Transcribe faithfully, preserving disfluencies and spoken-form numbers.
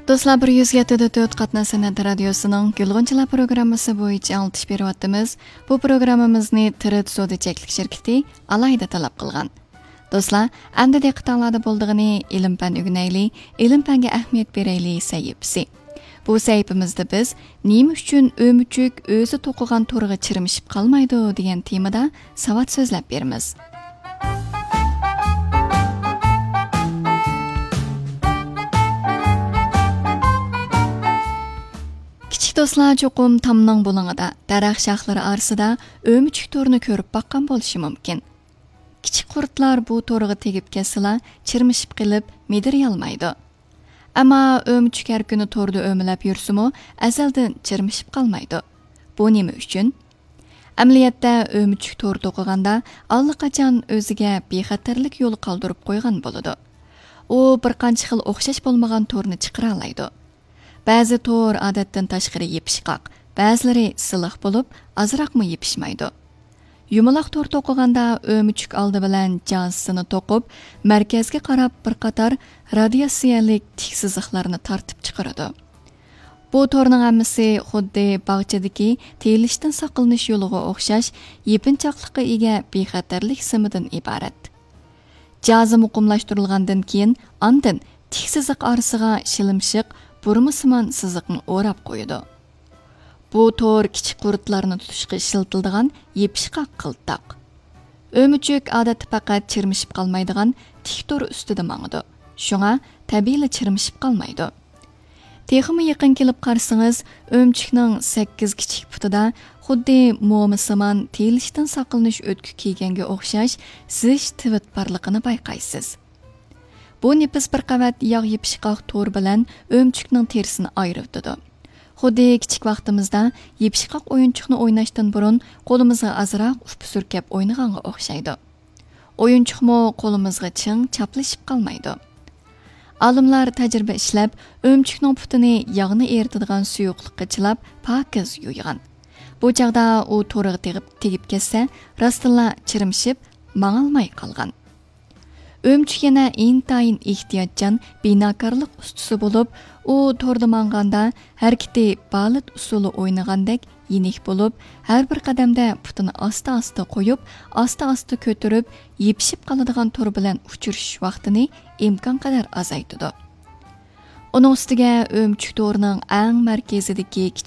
دوستلار، بىر يۈز يەتتە دە تۆت قاتناش سەنئەت رادىيوسىنىڭ گۈلغۇنچىلار پروگراممىسى بويىچە ئاڭلىتىش بېرىۋاتىمىز. بۇ پروگراممىمىزنى تىرىت سودا چەكلىك شىركىتى ئالاھىدە تەلەپ قىلغان. دوستلار، ئەمدى دىققىتىڭلاردا بولىدىغىنى ئىلىم-پەن ئۆگىنەيلى، ئىلىم-پەنگە ئەھمىيەت بېرەيلى سەھىپىسى. بۇ سەھىپىمىزدە بىز نېمە ئۈچۈن ئۆمۈچۈك ئۆزى توقۇغان تورغا چىرمىشىپ قالمايدۇ دېگەن تېمىدا ساۋات سۆزلەپ بېرىمىز. كىچىك دوستلار چوقۇم تامنىڭ بۇلۇڭىدا، دەرەخ شاخلىرى ئارىسىدا ئۆمۈچۈك تورىنى كۆرۈپ باققان بولۇشى مۇمكىن. كىچىك قۇرتلار بۇ تورغا تېگىپ كەتسىلا، چىرمىشىپ قېلىپ، مىدىرىيالمايدۇ. ئەمما ئۆمۈچۈك ھەر كۈنى توردا ئۆمىلەپ يۈرسىمۇ، ئەزەلدىن چىرمىشىپ قالمايدۇ. بۇ نېمە ئۈچۈن؟ ئەمەلىيەتتە، ئۆمۈچۈك تور توقۇغاندا، ئاللىقاچان ئۆزىگە بىخەتەرلىك يولى قالدۇرۇپ قويغان بولىدۇ. ئۇ بىر قانچە خىل ئوخشاش بولمىغان تورنى چىقىرالايدۇ. بەزى تور ئادەتتىن تاشقىرى يېپىشقاق، بەزىلىرى سىلىق بولۇپ، ئازراقمۇ يېپىشمايدۇ. يۇمىلاق تور توقۇغاندا ئۆمۈچۈك ئالدى بىلەن جازىسىنى توقۇپ، مەركەزگە قاراپ بىر قاتار رادىياتسىيەلىك تىك سىزىقلارنى تارتىپ چىقىرىدۇ. بۇ تورنىڭ ھەممىسى خۇددى باغچىدىكى تېيىلىشتىن ساقلىنىش يولىغا ئوخشاش يېپىنچاقلىققا ئىگە بىخەتەرلىك سىمىدىن ئىبارەت. جازا مۇقىملاشتۇرۇلغاندىن كېيىن، ئاندىن تىك سىزىق ئارىسىغا شىلىمشىق، بۇرمىسىمان سىزىقنى ئوراپ قويىدۇ. بۇ تور كىچىك قۇرتلارنى تۇتۇشقا ئىشلىتىلىدىغان يېپىشقاق قىلتاق. ئۆمۈچۈك ئادەتتە پەقەت چىرمىشىپ قالمايدىغان تىك تور ئۈستىدە ماڭىدۇ. شۇڭا تەبىئىيلا چىرمىشىپ قالمايدۇ. تېخىمۇ يېقىن كېلىپ قارىسىڭىز، ئۆمۈچۈكنىڭ سەككىز كىچىك پۇتىدا خۇددى مومىسىمان تېيىلىشتىن ساقلىنىش ئۆتۈكى كىيگەنگە ئوخشاش زىچ تىۋىت بارلىقىنى بايقايسىز. بۇ نېپىز بىر قەۋەت ياغ يېپىشقاق تور بىلەن ئۆمۈچۈكنىڭ تېرىسىنى ئايرىۋېتىدۇ. خۇددى كىچىك ۋاقتىمىزدا يېپىشقاق ئويۇنچۇقنى ئويناشتىن بۇرۇن قولىمىزغا ئازراق ئۇپا سۈركەپ ئوينىغانغا ئوخشايدۇ. ئويۇنچۇقمۇ قولىمىزغا چىڭ چاپلىشىپ قالمايدۇ. ئالىملار تەجرىبە ئىشلەپ، ئۆمۈچۈكنىڭ پۇتىنى ياغنى ئېرىتىدىغان سۇيۇقلۇققا چىلاپ، پاكىز يۇيغان. بۇ چاغدا ئۇ تورغا تېگىپ، تېگىپ كەتسە، راستتىنلا چىرمىشىپ، ماڭالماي قالغان. ئۆمۈچۈك يەنە ئىنتايىن ئېھتىياتچان بىناكارلىق ئۇستىسى بولۇپ، ئۇ توردا ماڭغاندا ھەرىكىتى بالېت ئۇسسۇلى ئوينىغاندەك يېنىك بولۇپ، ھەر بىر قەدەمدە پۇتىنى ئاستا-ئاستا قويۇپ، ئاستا-ئاستا كۆتۈرۈپ، يېپىشىپ قالىدىغان تور بىلەن ئۇچرىشىش ۋاقتىنى ئىمكانقەدەر ئازايتىدۇ. ئۇنىڭ ئۈستىگە ئۆمۈچۈك تورىنىڭ ئەڭ مەركىزىدىكى